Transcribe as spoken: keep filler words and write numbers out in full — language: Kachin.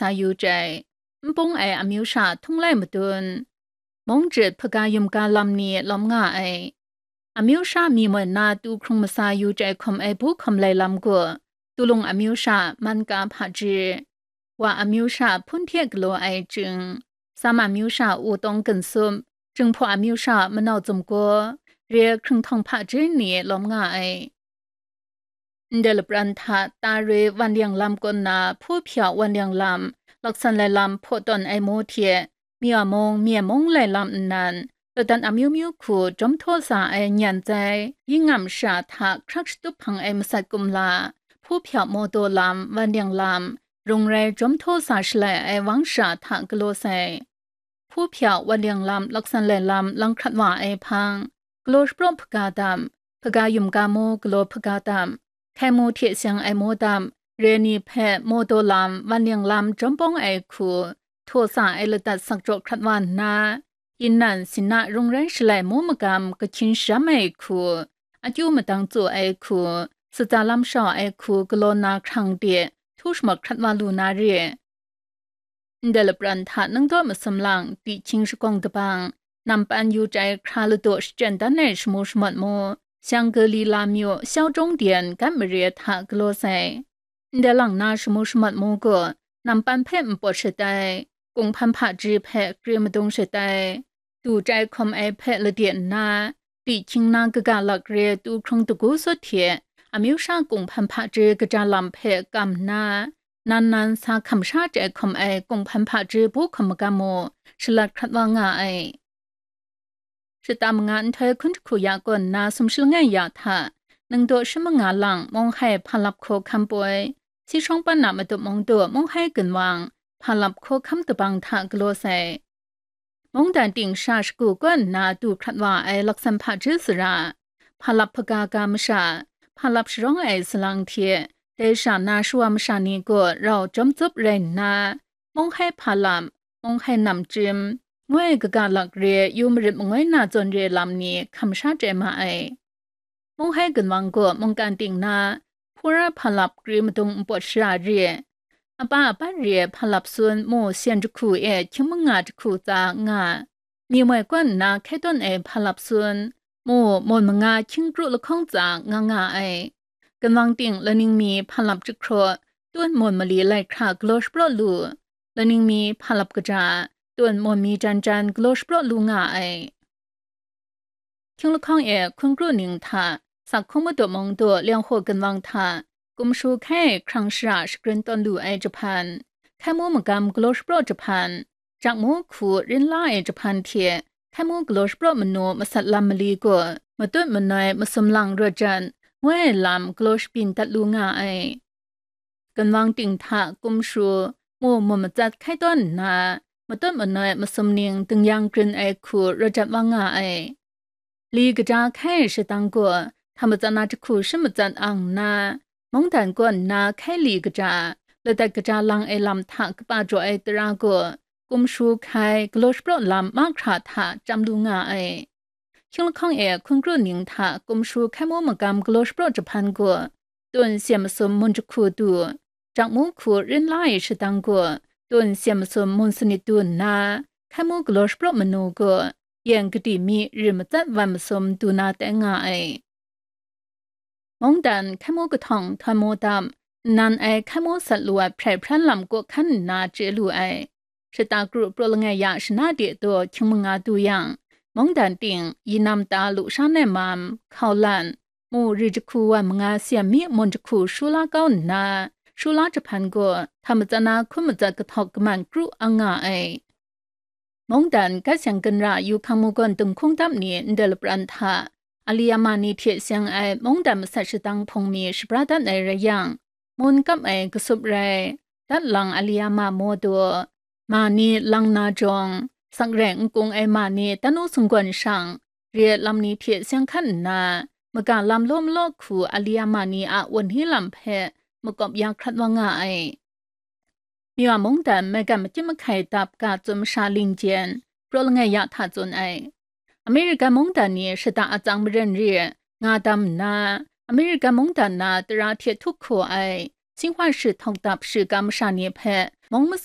sa yu chyai, n pung ai amyu sha htung lai madun, mung jit hpaga yumga lam ni lawm nga ai. Amyu sha mi moi na tu hkrung masa yu chyai hkawm ai bu hkawm lai lam gaw, tulung amyu sha man ka hpaji, wa amyu sha hpun hte galaw ai chying, sam amyu sha u tawng ginsup, jinghpaw amyu sha manau zumgaw, re hkringhtawng hpaji ni lawm nga ai. Ndai lapran hta ta roi wan liang lam kaw nna hpu hpya wan liang lam, laksan lai lam hpaw tawn ai mu hte, mya mung mye mung lai lam nnan, ladan amyu myu hku jawm htaw sa ai nyan zai, yingam sha hta hkrak shatup hpang ai masat kumla, hpu hpya maw daw lam, wan liang lam, rung rai jawm htaw sa shalai ai wang sha hta galaw sai. Hpu hpya wan liang lam, laksan lai lam lang hkrat wa ai hpang, galaw shapraw hpaga dam, hpaga yumga mu galaw hpaga dam, hkai mu hte seng ai mu dam, re ni hpe maw daw lam, wan liang lam jawm bawng ai hku, htaw sa ai ladat sak jaw hkrat wa nna, inan sina rung rai shalai mu magam kahkyin sharam ai hku, akyu madang tsaw ai hku, sutsa lam shau ai hku galaw na hkrang de, htu shamat hkrat wa lu na re. Ndai lapran hta nang daw masum lang, tihkying shagawng dabang, nampan yu chyai hkra ladaw shachyen dan ai shamu shamat mu, shang gali la myu, shau jawng dian gat mare hta galaw sai. Ndai lang na shamu shamat mu gaw, nampan hpe npawt shatai, kunghpan hpaji hpe kre madung shatai, du chyai hkawm ai hpe lade nna, tihkying na kaga lak re tu hkrung dagu sut hte, amyu sha kunghpan hpaji kaja lam hpe kam nna, nan nan sa hkam sha chyai hkawm ai kunghpan hpaji bu hkawm magam mu, shalat hkrat wa nga ai. Shata manga nhtoi hkun jahku ya kaw nna sumshi langai ya hta, ningdaw shi manga lang Munghai Hpa Lap Hkaw Hkam poi, si shawng pan na Matup Mungdaw Munghai Gunwang Hpa Lap Hkaw Hkam dabang hta galaw sai. Mungdan ting sha shagu kaw nna du hkrat wa ai laksan hpaji sara, hpa lap hpaga ga masha, hpa lap sharawng ai salang hte, dai sha na shawa masha ni gaw rau jawm tsup rai nna, Munghai Hpa Lap, Munghai Namchyim, ngu ai kaga lak re yu marit mangoi na zawn re lam ni hkam sha chyai ma ai. Munghai Gunwang gaw mungkan ting na, hpura hpa lap kri madung npawt shara re, apa apat re hpa lap sun mu syan jahku e hkying manga jahku tsa nga, mi moi kaw nna hkai tawn ai hpa lap sun mu mawn manga hkying kru lahkawng tsa nga nga ai. Gunwang ting laning mi hpa lap jahkraw, tun mawn mali lai hkra galaw shapraw lu, laning mi hpa lap kaja, tun mawn mi jan jan galaw shapraw lu nga ai. Hkying lahkawng e hkun kru ning hta, sak hkung madu mung du liang hku gunwang hta, kumshu hkai hkrang shara shagrin tawn lu ai jahpan, hkai mu magam galaw shapraw jahpan, jak mu hku rin la ai jahpan hte, hkai mu galaw shapraw manu masat lam mali gaw, matut manoi masum lang rawt jan, ngu ai lam galaw shabyin dat lu nga ai. Gunwang ting hta kumshu, mu mu matsat hkai tawn nna, matut manoi masum ning dingyang grin ai hku rawt jat wa nga ai. Li kaja hkai ai shadang gaw, hta matsat na jahku shi matsat ang nna, mungdan kaw nna hkai li kaja, ladat kaja lang ai lam hta kapa jaw ai tara gaw, kumshu hkai galaw shapraw lam mahkra hta chyam lu nga ai. Hkying lahkawng e hkun kru ning hta kumshu hkai mu magam galaw shapraw jahpan gaw, tun syen masum mun jahku du, jak mu hku rin la ai shadang gaw, tun syen masum mun sanit du nna, hkai mu galaw shapraw manu gaw, yen kadi mi ri matsat wan masum du na tai nga ai. Mungdan hkai mu kahtawng htawn mu dam, nnan ai hkai mu sat lu ai hprai hpran lam kaw hkan nna chye lu ai. Shata kru praw langai ya shana de daw hkying manga du yang, mungdan ting, yinam ta lu sha nai mam, hkau lan, mu ri jahku wan manga syen mi mun jahku shu la kau nna, shu la jahpan gaw, hta matsat na hkun matsat kahtawk kaman kru ang nga ai. Mungdan gat seng ginra yu hkang mu gawn dinghkung dam ni ndai lapran hta, Aliyama ni hte seng ai mungdan masat shadang hpung mi shabra dat ai rai yang, mun kap ai kasup rai, dat lang Aliyama maw daw, ma ni lang na jawng, sak rai n kung ai ma ni tanu sunggawn shang, re lam ni hte seng hkan nna, maga lam law malaw hku Aliyama ni a wenhni lam hpe makawp ya hkrat wa nga ai. Myawa mungdan maigan makyit mahkai dap ga tsun masha lingjen, praw langai ya hta tsun ai. Amerika mungdan ni shata atsang maren re nga dam nna, Amerika mungdan na tara hte htup hkaw ai, Tsinghua shi htawk dap shiga masha ni hpe mung masa